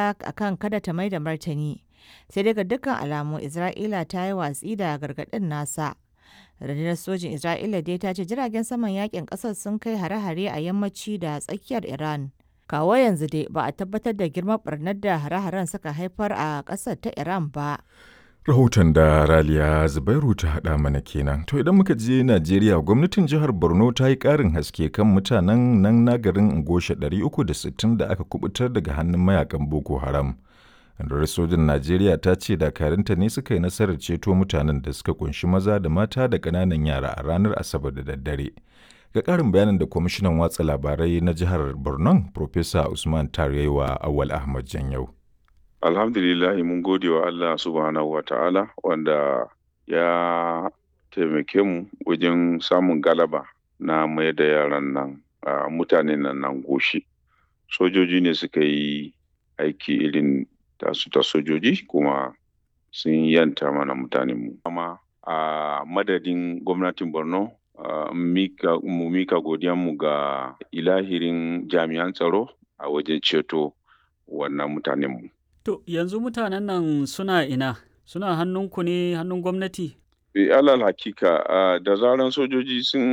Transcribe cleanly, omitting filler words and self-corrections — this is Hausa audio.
Akan kada ta mai da martani, sai dai ga dukkan alamu Isra'ila ta yi watsi da gargaɗin nasa. Rundunar Sojin Isra'ila dai ta ce jiragen saman yakin ƙasar sun kai hare-hare a yammaci da tsakiyar Iran. Kawo yanzu dai ba a tabbatar da girman ɓarnar da hare-haren suka haifar a ƙasar ta Iran ba. Rahoton da Raliya Zubairu ta haɗa mana kenan. To idan muka je Najeriya, gwamnatin jihar Borno ta yi ƙarin haske kan mutanen nan na garin Ngoshe 360 da aka kubutar daga hannun mayakan Boko Haram. Rundunar sojin Najeriya ta ce dakarunta ne suka yi nasarar ceto mutanen da suka kunshi maza da mata da ƙananan yara a ranar Asabar da daddare. Ga ƙarin bayanin da kwamishinan watsa labarai na jihar Borno, Profesa Usman Tarewa Awal Ahmad Janyau. Alhamdulillahi, mun gode wa Allah subhanahu wa ta'ala wanda ya taimake mu wajen samun galaba na mai da yaran nan, a mutanen nan nan goshi. Sojoji ne suka yi aiki irin tasu ta sojoji, kuma sun yanta mana mutanenmu. Amma a madadin gwamnatin Borno, mu mika godiyanmu ga ilahirin jami'an tsaro a wajen ceto wannan mutanenmu. To yanzu mutanen nan suna ina? Suna hannunku ne, hannun gwamnati? Alal hakika, da zaran sojoji sun